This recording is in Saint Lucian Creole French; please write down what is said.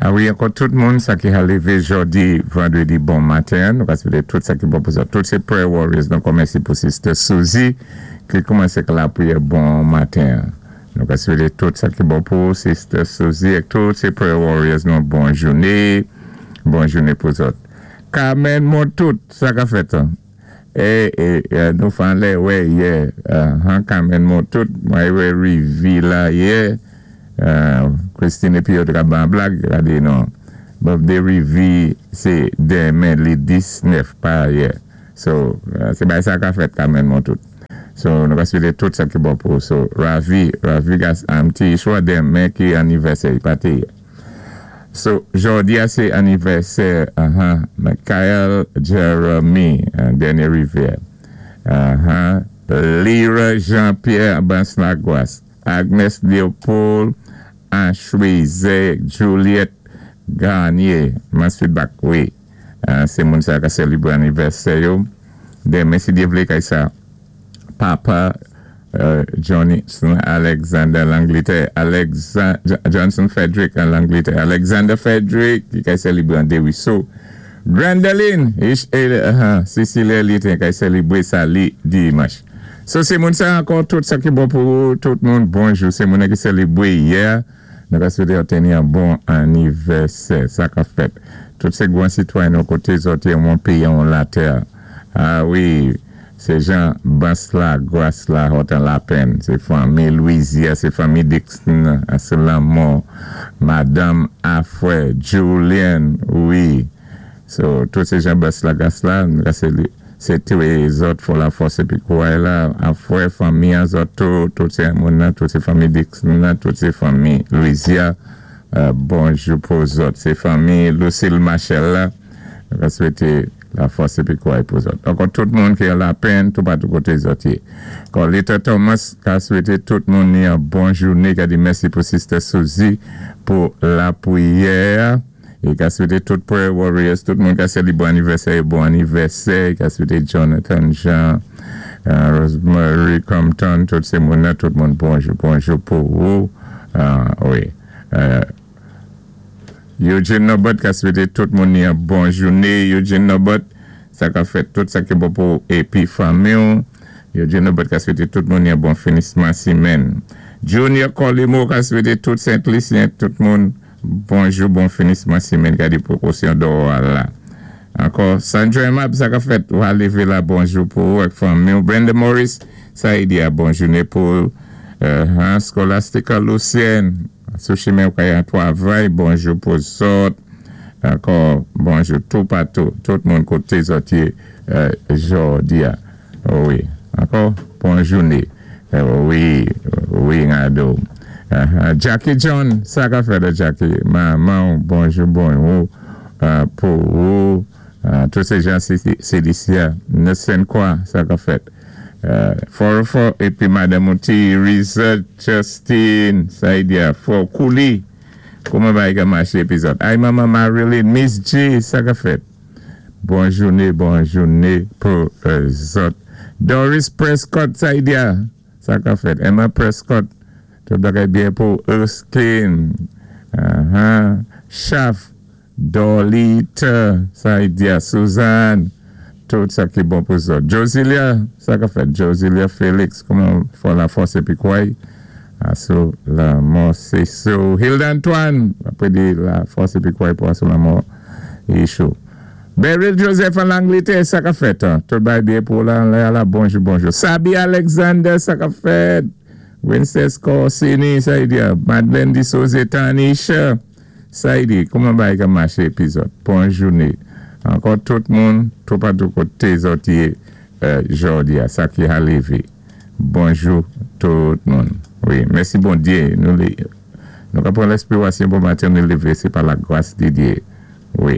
A wi, ankò tout moun sa ki ka lévé jòdi vandrédi bon maten, nou ka swété tout sa ki bon pou sa. Tout sé prayer warriors nou kòmansé pou Sister Suzy ki kòmansé ak lapriyè bon maten. Nou ka swété tout sa ki bon pou Sister Suzy ak tout sé prayer warriors nou bon jouné, bon jouné pou zòt. Carmen Montout, sa ka fèt an? É, nou fan lè wè yè, Carmen Montout, mwen wè rivi la yè, Christine épi yo te ban blag, gadé non. Birthday Rivi sé denmen li 19 pa yè. So, sé bay sa ka fèt Carmen Montout. So, nou ka swété tout sa ki bon pou. So, Ravi, Ravi gas amti chwa denmen ki anivèsè, pa té yè. So, jòdi a sé anivèsè, Michael Jeremy, dènyé rivyè. Lyra Jean-Pierre Banslaguas, Agnes Leopold, Ashwize, Juliette Garnier, mas feedback, wi. Sé moun sa ka sélébré anivèsè yo. Denmen si Dye vlé kay sa papa Johnson Alexander Langletè, Johnson Frederick an Langletè, Alexander Frederick ki kay sélébré an Deriso. Grandeline, Cecilia Litin kay sélébré sa li dimanch. So sé moun sa ankò tout sa ki bon pou tout moun bonjou. Sé moun ki sélébré yè. Nou ka swété yo teni an bon anivèsè. Sa ka fèt. Tout sé gwan sitwayen nou koté zòt yé yon péyi an latè. A wi, sé jan Bans la, Gras la, hòt an lapenn. Sé fanmi Louisia, sé fanmi Dixon, sé lanmò, Madanm Afwè, Julian, wi. So, tout sé jan Bans la, Gras la, sé toué zòt fò lafòs épi kouray la, Afwè, fanmi an zòt tou, tout sé moun nan, tout sé fanmi Dixon nan, tout sé fanmi Louisia, bonjou pou zòt. Sé fanmi Lucille Machel la, nou ka swété lafòs épi kouray pou zòt. Ankò tout moun ki an lapenn, tout patou koté zòt yé. Carlita Thomas ka swété tout moun ni an bon jouné, ka di mèsi pou Sister Suzy pou lapriyè. É ka swété tout prayer warriors, tout moun ka sélébré anivèsè bon anivèsè, é ka swété Jonathan Jean, Rosemary Compton, tout sé moun nan, tout moun bonjou, bonjou pou ou. Wi. Eugene Nobot ka swété tout moun ni an bon jouné. Eugene Nobot, sa ka fèt tout sa ki bon pou épi fanmi ou. Eugene Nobot ka swété tout moun ni an bon finisman simenn. Junior Colimo ka swété tout Saint-Lucien, tout moun bonjou, bon finisman simenn gadi pwékosyon dò la. Ankò, Sandra Map, sa ka fèt, ou a lévé la bonjou pou ou ak fanmi ou. Brenda Morris, sa y di a bon jouné pou Scholastica Lucien, sou chimen ou kay an twavay, bonjou pou zòt. Ankò, bonjou tout patou, tout moun koté zòt yé jòdi a. Wi, ankò, bon jouné. Wi, Ngado. Jackie John, sa ka fèt Jackie? Manman, bonjou, bonjou pou ou. Tout sé jan CDC, Nelson kwa, sa ka fèt. Fò, épi Madanm Outi, Risa Justin, sa y di a, fò Kouli. Kouman bagay ka maché épi zòt? Ay manman Marilyn, Miss G, sa ka fèt. Bon jouné, bon jouné pou zòt. Doris Prescott, sa y di a, sa ka fèt. Emma Prescott, tout bagay byen pou Erskine. Chaf, Dolita, sa y di a, Suzanne, tout sa ki bon pou zòt. Josilia, sa ka fèt. Josilia Félix, kouman fò lafòs épi kouray? Asou lanmò sé sou. Hilda Antoine, apwé di lafòs épi kouray pou asou lanmò Yishou. Beryl Joseph an Langlétè, sa ka fèt. Tout bagay byen pou la, la, la, bonjou, bonjou. Sabi Alexander, sa ka fèt. Princess Corsini, sa y di a. Madeleine Dissoze, Tanisha, sa y di. Kouman bagay ka maché épi zòt? Bon jouné. Ankò tout moun, tout patou koté zòt yé jòdi a, sa ki a lévé. Bonjou tout moun. Wi, mèsi Bondyé. Nou, nou ka pran lèspirasyon bon maten, nou lévé, sé pa la gras di Dyé. Wi.